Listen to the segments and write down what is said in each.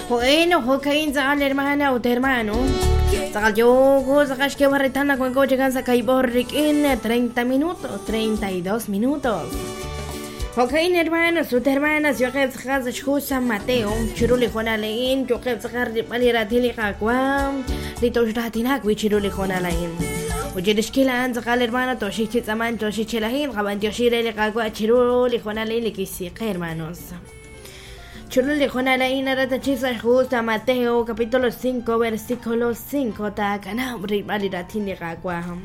Jo'in jo'ka'in tz'aqal hermana ut hermano. Tz'aqal yooko tz'aqal xk'eeb'al reetal naq wanko chikan sa' kaib'or rik'in 30 minutos, 32 minutos. Jo'ka'in hermanos ut hermanas yo'qeb' tz'aqal sa' xhu San Mateo chiru li hoonal a'in yo'qeb' tz'aqal rilb'al li raatin li Qaawa' li toxraatinak wi' chiru li hoonal a'in. Ut chirix kil a'an tz'aqal hermano toxik chi tz'aman toxik chi lajin qab'antioxi re li Qaawa' chiru li hoonal a'in li kixsi qe hermanos. Chiru li hoonal a'in naratachi sa' xhu San Mateo capítulo 5 versículo 5 taakanab' rilb'al li raatin li Qaawa'.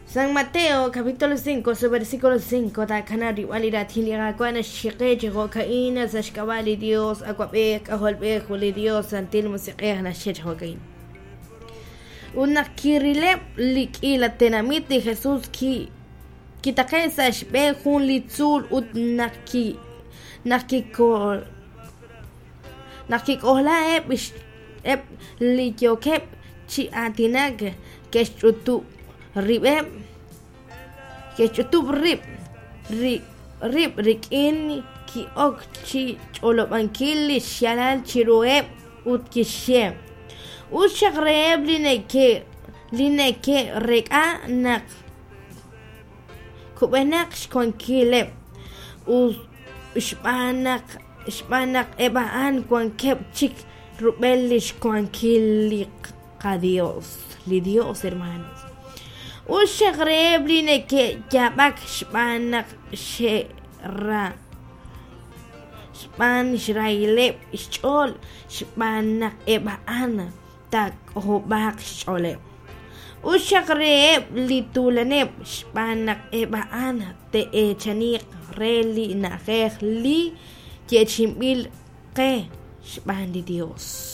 San Mateo capítulo 5 su versículo 5 taakanab' rilb'al li raatin li Qaawa' naxchiqe chi jo'ka'in sa' xk'ab'a' li Dios Awab'ej K'ajolb'ej ut li Dios Santil Musiq'ej naxye chi jo'ka'in. Ut naq kirileb' li k'iila tenamit li Jesús ki Kitaqe' sa' xb'een jun li tzuul ut naq ki naq kiko naq kik'ojla eb' eb' li yookeb' chi aatinak ke'xch'utub' rib'eb' ke'xch'utub' rib' rib' rik'in ki'ok chi ch'olob'ankil li xyaalal chiruheb' ut kixye: Us xaq reheb' li neke' li neke'rek'a naq Kub'enaq xwankileb' ut xb'aan naq xb'aan naq eb' a'an wankeb' chik rub'el li xwankil li qaDios, li Dios, hermanos. Us xaq reheb' li neke'yaab'ak xb'aan naq xe'ra xb'aan xrahileb' xch'ool xb'aan naq eb' a'an taak'ojob'aaq xch'ooleb'. Us xaq reheb' li tuulaneb' xb'aan naq eb' a'an te'eechaniiq re li na'ajej li yeechi'inb'il qe xb'aan li Dios.